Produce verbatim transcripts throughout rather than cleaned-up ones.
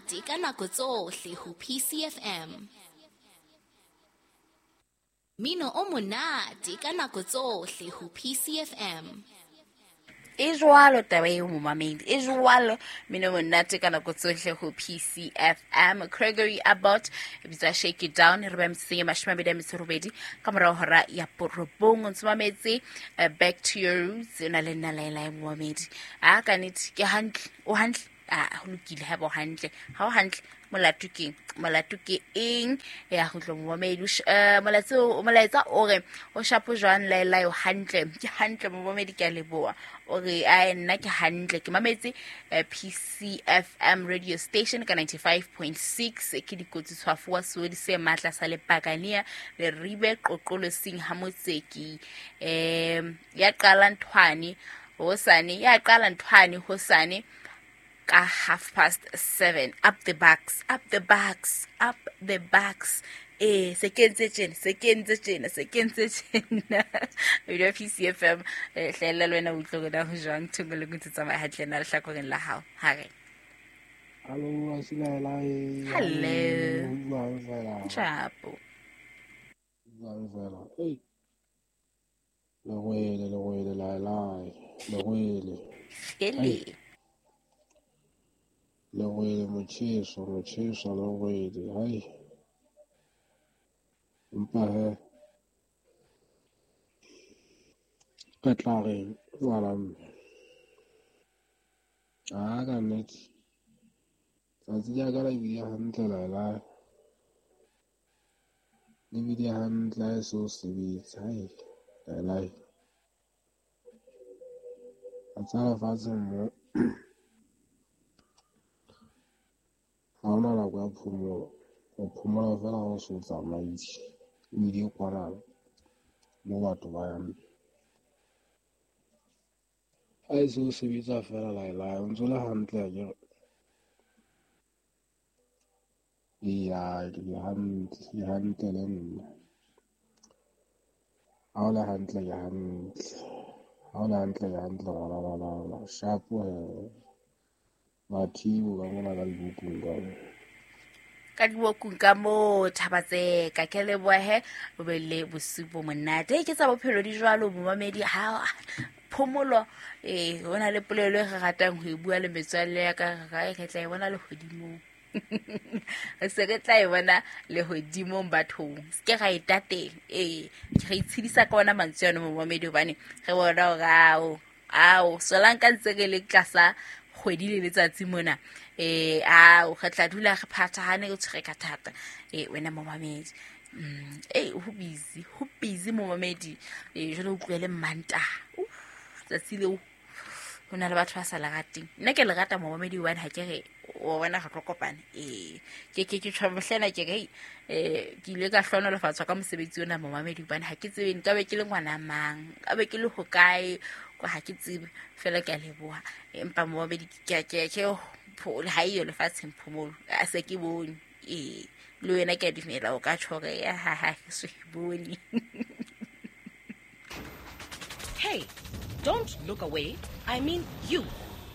monate ka nako tsohle ho P C F M. Mino o monate ka nako tsohle ho P C F M. E jwalo taba eo momamedi, e jwalo mino monate ka nako tsohle ho P C F M. Gregory Abbott e bitswa Shake It Down, re ba metseng e mashome a mabedi a metso e robedi ka morao hora ya borobong. O ntse mametse Back to Your Roots, o na le nna Laelae momamedi. A ka nnete ke hantle, o hantle, a ho lokile ha bo hantle, ha o hantle molato ke molato ke eng ya go tlo momamedi. Eh molaetsa molaetsa o re o shapo jwang Laelae, o hantle, ke hantle momamedi, ke a leboha. O re ai nna ke hantle, ke mametse P C F M radio station ka ninety-five point six, ke dikotsi tshwafo wa seodi se matla sa lepakania le ribe qoqolosing ha motseki eh ya qala nthwane hosane ya qala nthwane hosane ka half past seven. Up the backs, up the backs, up the backs. Eh, se kentse tjena, se kentse tjena, se kentse tjena. Radio P C F M, eh hlela le wena o utlwe hore na ho jwang thongo le ntse tsamaya hantle na lehlakoreng la hao. Ha re. Hello, Asilaelae. Hello. Chapo. Jwang fela. Hey. Lengwele, lengwele, Laelae. Lengwele. Ele. Lengwele motjheso, motjheso lengwele. Hai. Empa he re tla reng ngwana mme? A ka nnete tsatsi la ka la bile hantle Laelae, le bile hantle ha e so sebetse. Hai Laelae, a tsa lefatsheng mo ha hona nako ya phomolo, o phomola fela ha o so tsamaise o ile kwana mo batho ba yang. Ha e so sebetsa fela Laelae, o ntso le hantle akere? Eya, ke hantle, ke hantle le nna. Ha o le hantle ke hantle, ha o le hantle ke hantle ngwana wa bana. Shapo he Mathibo ka mona ka dibukung ka mo. Ka dibukung ka mo Thabatseka, ke lebohe o be le bosiu bo monate. Ke tsa bophelo di jwalo momamedi, ha phomolo eh ho na le polelo e re ratang ho e bua le metswalle ya ka, re tla e bona lehodimong. Re se re tla e bona lehodimong bathong, se ke ra e tatela. Eh re itshedisa ka ona mantswe ano momamedi, hobane re bona hore ao ao solang ka ntse re le tlasa kgwedi le letsatsi mona. Eh ao re tla dula re phathahane re tshwere ka thata. Eh wena momamedi, mm eh ho busy, ho busy momamedi. Eh jwale o utlwele Mantaha, tsatsi leo ho na le batho ba sa le rateng. Nna ke le rata momamedi hobane ha ke re o bona re tlo kopana. Eh ke ke ke tshwamohlena ke re eh ke ile ka hlohonolofatswa ka mosebetsi ona momamedi, hobane ha ke tsebe nka be ke le ngwana mang, nka be ke le hokae, kwa ha ke tsebe fela ke a leboha. Empa momamedi ke ke ke ha eyo lefatsheng phomolo, a se ke bone. Eh le wena ke a dumela o ka tjho hore ha ha ke so e bone. Hey, don't look away. I mean you.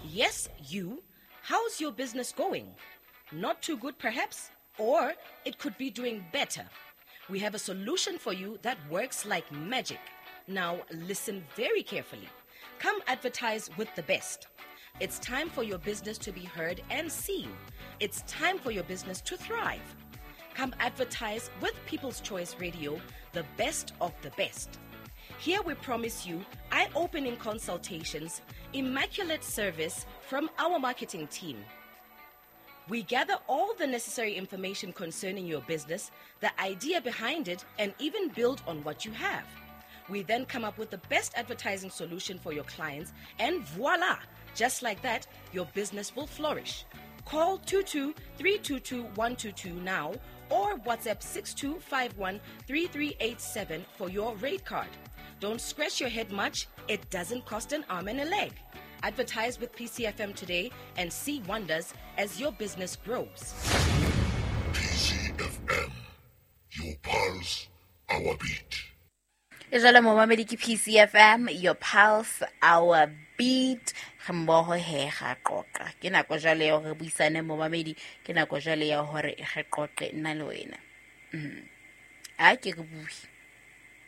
Yes, you. How's your business going? Not too good, perhaps? Or it could be doing better. We have a solution for you that works like magic. Now, listen very carefully. Come advertise with the best. It's time for your business to be heard and seen. It's time for your business to thrive. Come advertise with People's Choice Radio, the best of the best. Here we promise you eye-opening consultations, immaculate service from our marketing team. We gather all the necessary information concerning your business, the idea behind it, and even build on what you have. We then come up with the best advertising solution for your clients, and voila! Just like that, your business will flourish. Call two two three two two one two two now or WhatsApp six two five one three three eight seven for your rate card. Don't scratch your head much. It doesn't cost an arm and a leg. Advertise with P C F M today and see wonders as your business grows. P C F M, your pulse, our beat. E jwale momamedi ke P C F M, your pulse, our Piet re mmoho he ga qoqa. Ke nako jwale ya hore re buisane momamedi, ke nako jwale ya hore re qoqe nna le wena. Mm. A ke re bue,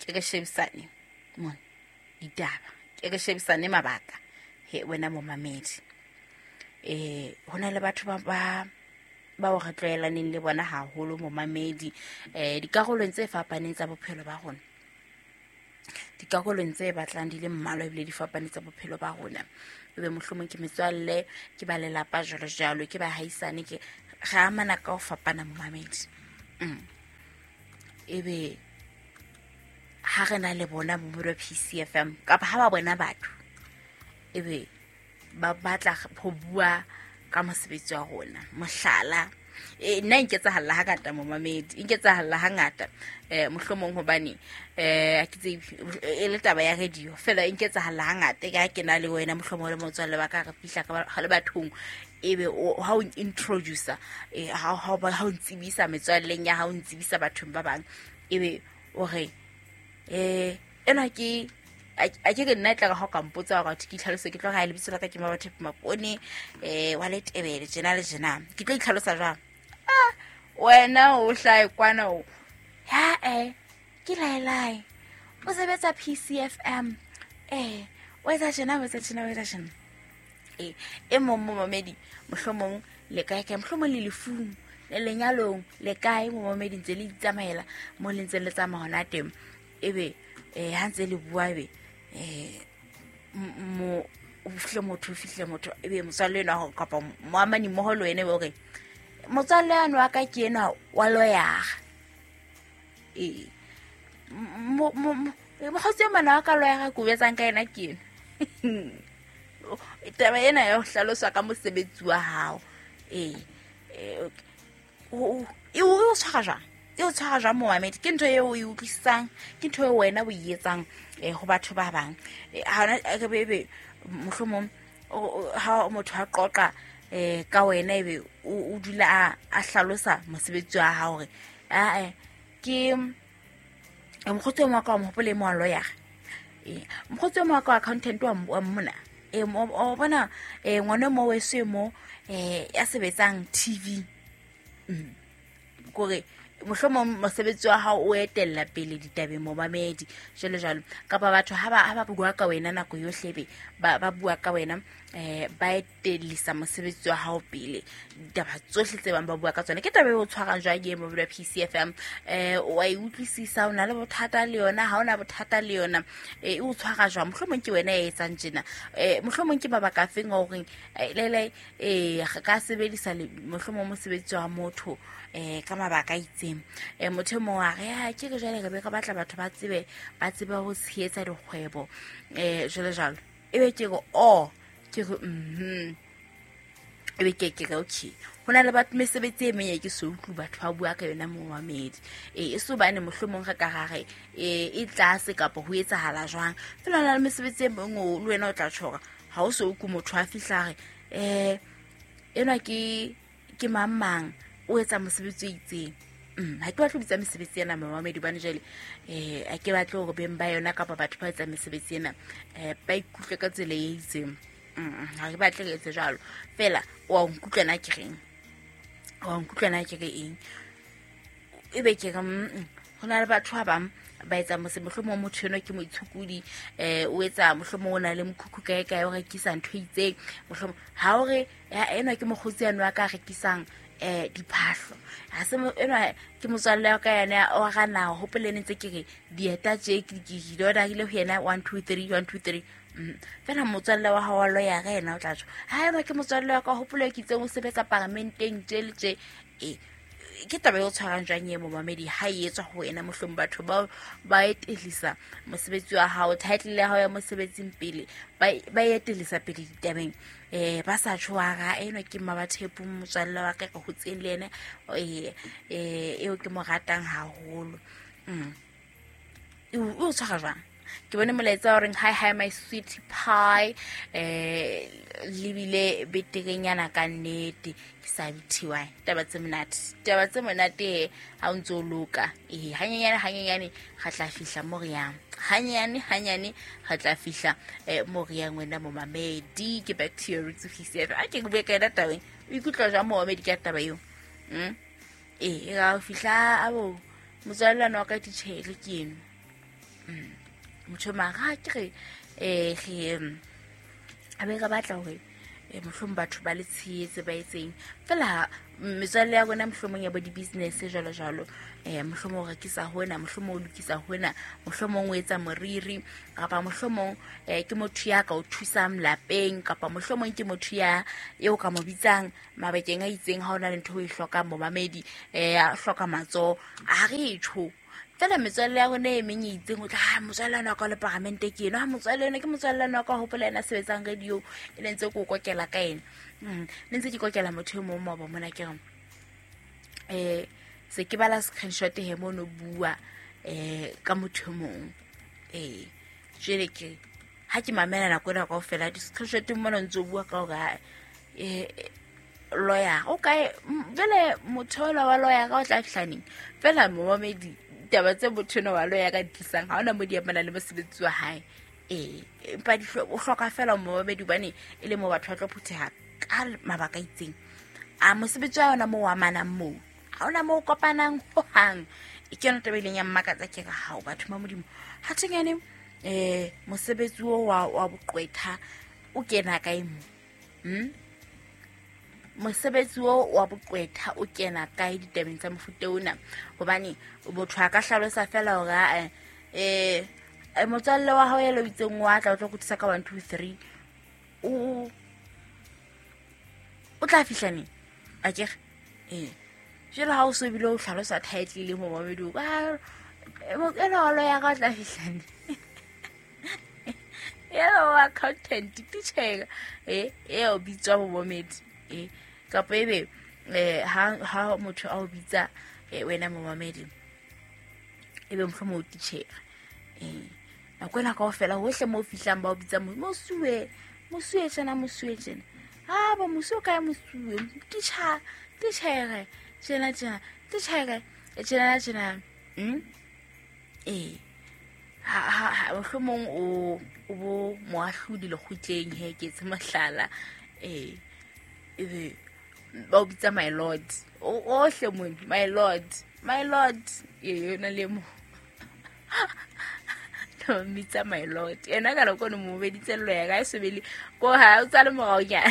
ke re shebisane mona ditaba, ke re shebisane mabaka he wena momamedi. Eh hona le batho ba ba bao re tlwaelaneng le bona haholo momamedi, eh dikarolong tse fapaneng tsa bophelo ba rona. Dikarolong tse batlang di le mmalwa ebile di fapane tsa bophelo ba rona. Ebe mohlomong ke metswalle, ke ba lelapa jwalo jwalo, ke ba haisane, ke re amana ka ho fapana momamedi. Mm. Ebe ha re na le bona bo P C F M kapa ha ba bona batho ebe ba batla ho bua ka mosebetsi wa rona. Mohlala, e nna nketsahalla ha ngata momamedi, nketsahalla ha ngata eh mohlomong hobane eh ke tse e le taba ya radio fela nketsahalla ha ngata ka ke na le wena mohlomong le motswalle wa ka re fihla ka le bathong ebe ha o introducer eh ha ha ha o ntsibisa metswalleng ya ha o ntsibisa bathong ba bang ebe o re eh ena ke a ke ke nna tla ka ho ka mpotsa hore ke itlhalose ke tlo ga lebitso la ka ke Mabathepe Mapone eh wa Letebele tjena le tjena ke tlo itlhalosa jwang? Ah wena o hlae kwana o ha eh ke laelai o sebetsa P C F M eh o etsa tjena o etsa tjena o etsa tjena eh e mong momamedi mohlomong le kae kae mohlomong le lefung le lenyalong le kae momamedi ntse le itsamaela mo le ntse le tsamaya hona teng ebe eh ha ntse le bua ebe eh mo o fihle motho o fihle motho ebe motswalle ena hore kapa moamani mmoho le wena ebe hore motswalle ano wa ka ke ena wa loyara eh mo mo mokgotsi o mana wa ka loyara ko etsang ka ena ke ena taba ena ya ho hlaloswa ka mosebetsi wa hao eh o e o tshwara jwang e o tshwara jwang momamedi? Ke ntho eo o e utlwisisang, ke ntho eo wena o e etsang eh ho batho ba bang. Ha ona re bebe mohlomong ha motho a qoqa eh ka wena ebe o dula a hlalosa mosebetsi wa hao hore a eh ke mokgotsi wa ka mo hopole mo wa lawyer eh mokgotsi wa ka accountant wa mona eh o bona eh ngwana mo weso mo eh ya sebetsang T V mm kore mohlomong mosebetsi wa hao o etella pele ditabeng momamedi jwalo jwalo kapa batho ha ba ha ba bua ka wena nako yohle be ba ba bua ka wena eh ba etellisa mosebetsi wa hao pele ditaba tsohle tse bang ba bua ka tsona. Ke taba e o tshwarang jwang e mobile P C F M eh wa e utlwisisa o na le bothata le yona ha ona bothata le yona e o tshwara jwang? Mohlomong ke wena e etsang tjena eh mohlomong ke mabaka a feng a horeng le le eh ka sebedisa mohlomong mosebetsi wa motho eh ka mabaka a itseng eh motho mo wa re ha ke re jwale re be re batla batho ba tsebe ba tsebe ho tshehetsa dikgwebo eh jwalo jwalo ebe ke re oh ke re mhm ebe ke ke re okay hona le batho mesebetsi e meng e ke so utlwe batho ba bua ka yona momamedi eh e so bane mohlomong re ka gare eh e tlase kapa ho etsahala jwang fela na le mesebetsi e meng o le wena o tla tshora ha o so utlwe motho a fihla re eh ena ke ke mang mang o etsa mosebetsi o itseng. Mm, ha ke batle ho bitsa mesebetsi ena momamedi bane jwale eh ha ke batle hore beng ba yona kapa batho ba etsang mesebetsi ena eh ba ikutlwe ka tsela e itseng. Mm, ha ke batle re etse jwalo fela wa nkutlwa na ke reng wa nkutlwa na ke re eng ebe ke re ho na le batho ba bang ba etsa mosebetsi mohlomong motho eno ke moitshukudi eh o etsa mohlomong o na le mokhukhu kae kae o rekisa ntho e itseng mohlomong ha o re ena ke mokgotsi ano a ka rekisang eh diphahlo ha se ena ke motswalle wa ka yena o gana hopolene tse ke re dieta tje ke ke di orderile ho yena one two three one two three fela motswalle wa hao wa lawyer yena o tla tjho ha ena ke motswalle wa ka hopole ke itseng o sebetsa paramenteng tje le tje e ke taba e o tshwarang jwang e momamedi ha e etswa ho wena mohlomong batho ba ba etellisa mosebetsi wa hao title ya hao ya mosebetsing pele ba ba etellisa pele ditabeng eh ba sa tshwara eno ke Mabathepe motswalle wa ka ka hotseng le yena eh eh eo ke mo ratang haholo mm e o tshwara jwang Ke bone molaetsa o reng hi hi my sweet pie, eh lebile beterenyana ka nnete ke sa bithiwa. Taba tse monate, taba tse monate ha o ntso loka. Eh hanyenyane hanyenyane ga tla fihla mo re yang. Hanyane hanyane ga tla fihla mo re yang wena momamedi. Ke back to your roots P C F M. A ke bue ka yona taba e. O ikutlwa jwang momamedi ka taba eo? Mm? Eh ga o fihla abo motswallane wa ka ditjhele ke eno. Mm. Motho mara ke re eh re a be re batla hore eh mohlomong batho ba le tshehetse ba etseng fela metswalle ya rona mohlomong ya bo di-business jwalo jwalo, eh mohlomong o rekisa hona, mohlomong o lokisa hona, mohlomong o etsa moriri, kapa mohlomong eh ke motho ya ka o thusang lapeng, kapa mohlomong ke motho ya eo ka mo bitsang mabakeng a itseng ha ona le ntho e hlokang momamedi, eh a hloka matsoho a re tjho. Fela metswalle ya rona e meng e itseng o tla ha motswalle wa ka le paramente ke eno, ha motswalle ena ke motswalle wa ka hopola ena sebetsang radio e le ntse ke o kokela ka ena. Mm ne ntse ke kokela motho e mong mo ba mona ke re eh se ke bala screenshot he mono bua eh ka motho e mong. Eh jwale ke ha ke mamela nako ena kaofela di screenshot mona ntse o bua ka hore eh lawyer o kae jwale motho wa lawyer ka o tla fihla neng fela momamedi taba tse motho eno wa lawyer ka tlisang ha ona mo di amana le mosebetsi wa hae. Eh empa di o hloka fela momamedi hobane e le mo batho ba tlo phutheha ka mabaka itseng. A mosebetsi wa yona mo wa amanang moo ha ona mo kopanang hohang. E ke yona taba e leng ya mmakatsa ke re hao batho ba Modimo ha thengane eh mosebetsi o wa wa boqwetha o kena kae mo? Hm mosebetsi o wa boqwetha o kena kae ditabeng tsa mofuta ona? Hobane motho a ka hlalosa fela hore eh eh motswalle wa hao ya lo itseng wa tla o tlo kutlisa ka one two three o o tla fihla neng akere? Eh jwale ha o so bile o hlalosa title le momamedi o ka ena wa lawyer ka o tla fihla neng? Eo accountant teacher eh e o bitswa momamedi eh kapa ebe eh ha ha motho a o bitsa wena momamedi ebe mohlomong o teacher eh nako ena kaofela hohle mo fihlang ba o bitsa mosuwe mosuwe tjena mosuwe tjena ha ba mosuwe kae mosuwe teacher teacher tjena tjena teacher tjena tjena mm eh ha ha mohlomong o o bo moahlodi lekgotleng he ke tse mohlala eh ebe ba o bitsa my lord o ohle mo my lord my lord e yona le mo no mitsa my lord ena ka loko no mo beditse lawyer ka sebele ko ha o tsale morao nya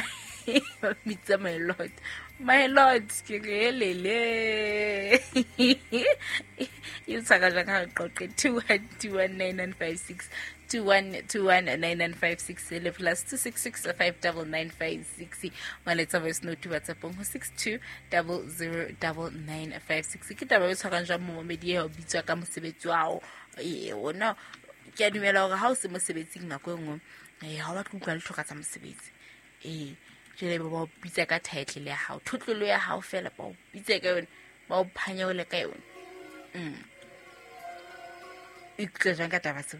mitsa my lord my lord ke re lele you tsaka ja ka qoqe two one two one nine nine five six two one two one nine nine five six le plus two six six five nine nine five six maletsa voice note WhatsApp ho six two zero zero nine nine five six. Ke taba e tshwarang jwang momamedi e o bitswa ka mosebetsi wa hao? Eh ona ke a dumela hore ha o se mosebetsing nako e nngwe eh ha o batle utlwa le hloka tsa mosebetsi eh jwale ba o bitsa ka title ya hao, thotlolo ya hao fela ba o bitsa ka yona, ba o phanyaole ka yona. Mm ikutlwa jwang ka taba tseo?